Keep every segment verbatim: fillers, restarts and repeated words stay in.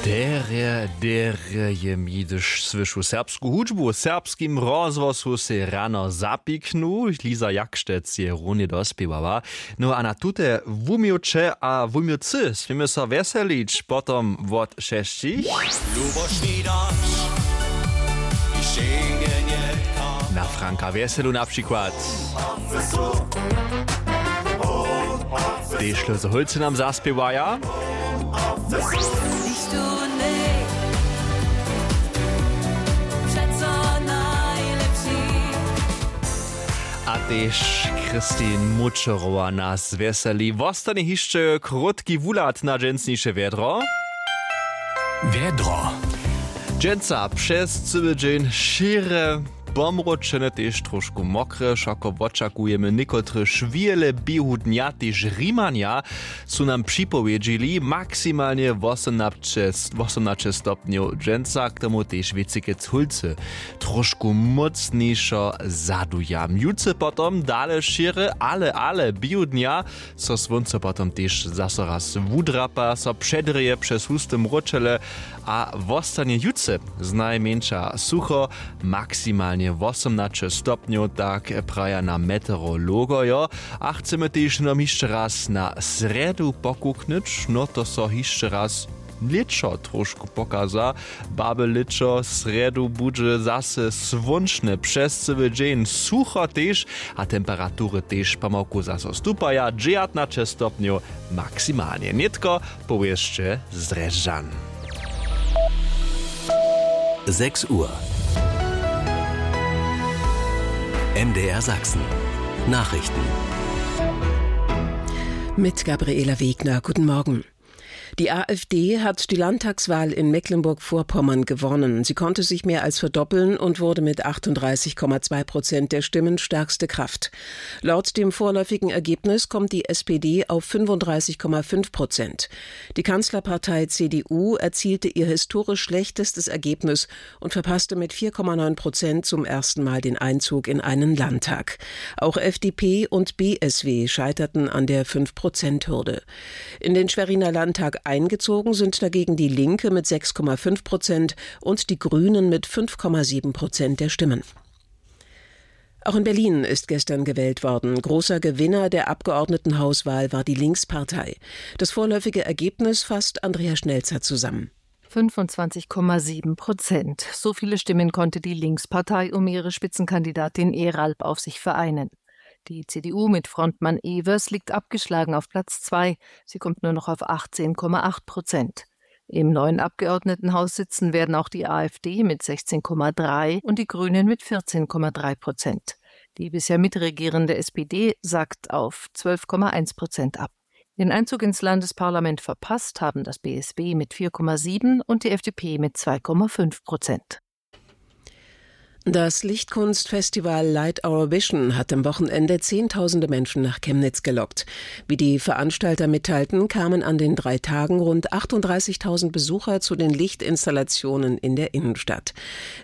Derje, derje je mi, hdyž słyšu serbsku hudźbu w serbskim rozhłosu, sej rano zapiknu. Liza Jakštec je runje dospěwała. No a na tute wuměłće a wuměłcy směmy so wjeselić potom wot šesćich. Luboš Widaš, hišće na Franka Wjeselu na přikład. Tež Lózy Hólcy nam zaspěwaja. A tež Christine Mučerowa nas wjeseli. Wostanje hišće krótki wuhlad na dźensniše wjedro. Wjedro. Dźensa přez cyły dźeń šěre, pomróčene, tež trošku mokre, wšako wočakujemy někotre šwile běhu dnja, tež Rimanja su nam připowědźili maksimalnje wosomnaće, wosomnaće stopnjow dźensa, k tomu tež wěcikec Hólcy trošku mócnišo zaduja. Jutře potom dale šěre, ale, ale běhu dnja so słónco potom tež zaso raz wudrapa, so předrěje přez husty mróčele a wostanje jutře znajmjeńša sucho, maksimalnje wosomnaće stopnjow, tak praja nam meteorologojo. A chcemy tež hnydom hišće raz na srjedu pokuknyć, no to so hišće raz lěćo trošku pokaza. Baby lěćo, srjedu budźe zaso słónčne přez cyły dźeń, sucho tež a temperatury tež pomałku zaso stupaja, dźewjatnaće stopnjow maksimalnje. Nětko powěsće z Drježdźan. Sechs Uhr. M D R Sachsen. Nachrichten. Mit Gabriela Wegner. Guten Morgen. Die A f D hat die Landtagswahl in Mecklenburg-Vorpommern gewonnen. Sie konnte sich mehr als verdoppeln und wurde mit achtunddreißig Komma zwei Prozent der Stimmen stärkste Kraft. Laut dem vorläufigen Ergebnis kommt die S P D auf fünfunddreißig Komma fünf Prozent. Die Kanzlerpartei C D U erzielte ihr historisch schlechtestes Ergebnis und verpasste mit vier Komma neun Prozent zum ersten Mal den Einzug in einen Landtag. Auch F D P und B S W scheiterten an der fünf-Prozent-Hürde. In den Schweriner Landtag eingezogen sind dagegen die Linke mit sechs Komma fünf Prozent und die Grünen mit fünf Komma sieben Prozent der Stimmen. Auch in Berlin ist gestern gewählt worden. Großer Gewinner der Abgeordnetenhauswahl war die Linkspartei. Das vorläufige Ergebnis fasst Andrea Schnelzer zusammen. Fünfundzwanzig Komma sieben Prozent. So viele Stimmen konnte die Linkspartei um ihre Spitzenkandidatin Eralp auf sich vereinen. Die C D U mit Frontmann Evers liegt abgeschlagen auf Platz zwei. Sie kommt nur noch auf achtzehn Komma acht Prozent. Im neuen Abgeordnetenhaus sitzen werden auch die A f D mit sechzehn Komma drei und die Grünen mit vierzehn Komma drei Prozent. Die bisher mitregierende S P D sackt auf zwölf Komma eins Prozent ab. Den Einzug ins Landesparlament verpasst haben das B S W mit vier Komma sieben und die F D P mit zwei Komma fünf Prozent. Das Lichtkunstfestival Light Our Vision hat am Wochenende Zehntausende Menschen nach Chemnitz gelockt. Wie die Veranstalter mitteilten, kamen an den drei Tagen rund achtunddreißigtausend Besucher zu den Lichtinstallationen in der Innenstadt.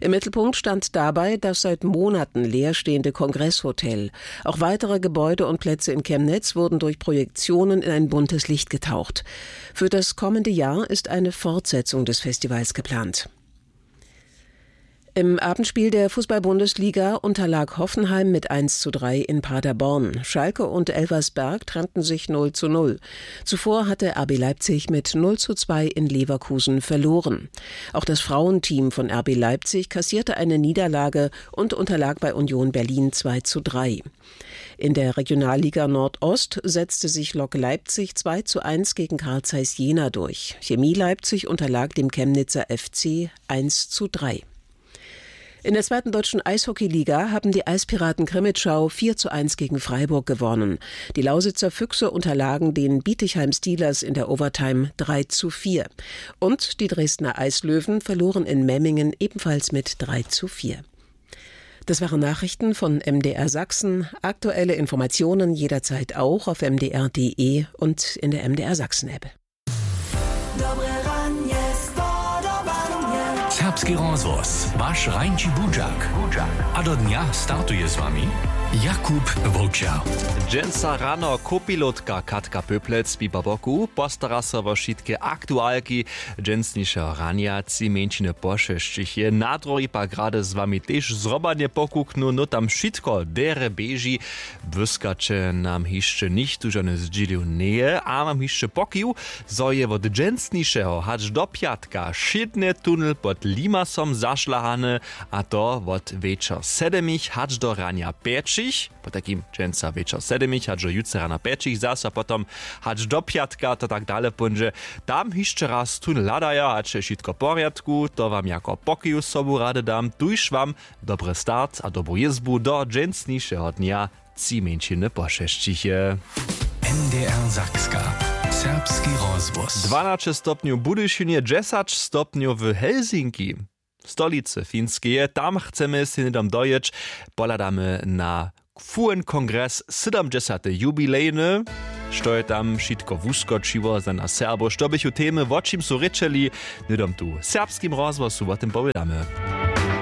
Im Mittelpunkt stand dabei das seit Monaten leerstehende Kongresshotel. Auch weitere Gebäude und Plätze in Chemnitz wurden durch Projektionen in ein buntes Licht getaucht. Für das kommende Jahr ist eine Fortsetzung des Festivals geplant. Im Abendspiel der Fußball-Bundesliga unterlag Hoffenheim mit eins zu drei in Paderborn. Schalke und Elversberg trennten sich null zu null. Zuvor hatte R B Leipzig mit null zu zwei in Leverkusen verloren. Auch das Frauenteam von R B Leipzig kassierte eine Niederlage und unterlag bei Union Berlin zwei zu drei. In der Regionalliga Nordost setzte sich Lok Leipzig zwei zu eins gegen Carl Zeiss Jena durch. Chemie Leipzig unterlag dem Chemnitzer F C eins zu drei. In der zweiten deutschen Eishockeyliga haben die Eispiraten Krimitschau vier zu eins gegen Freiburg gewonnen. Die Lausitzer Füchse unterlagen den Bietigheim Steelers in der Overtime drei zu vier. Und die Dresdner Eislöwen verloren in Memmingen ebenfalls mit drei zu vier. Das waren Nachrichten von M D R Sachsen. Aktuelle Informationen jederzeit auch auf M D R punkt D E und in der M D R Sachsen App. Serbski rozhłos, waš rańši budźak. A do dnja startuje z wami Jakub Wołčer. Dźensa rano kopilotka Katka Pöplec, pipa boku, postara so wo wšitke aktualki dźensnišeho ranja. Tři mjeńšiny pošesćich je na druhi pak rady z wami tež zrobanje pokuknu, no tam wšitko derje běži. Błyskaće nam hišće nichtó žony zdźělił njeje, a mam hišće pokił, zo je wot dźensnišeho hač do pjatka wšědnje tunel pod limasom zašlahany, a to wot wječor sedemich hač do ranja pjećich. Potajkim dźensa wječor sedemich hač do jutře rana pjećich, zaso potom hač do pjatka to tak dale póńdźe. Tam hišće raz tón hladaja, hač je wšitko w porjadku, to wam jako pokiw sobu rady dam, tuž wam dobry start a dobru jězbu do dźensnišeho dnja. Tři mjeńšiny pošesćich je. N D R Sakska, serbski rozhłos. Dwanaće stopnjow w Budyšinje, dźesać stopnjow w Helsinki, stolicy Finskeje. Tam chcemy sej hnydom dojěć. Pohladamy na Q N kongres, sydomdźesate jubilejny. Što je tam wšitko wuskočiło za nas Serbow, što běchu temy, wo čim su rěčeli, hnydom tu w serbskim rozhłosu wo tym powědamy.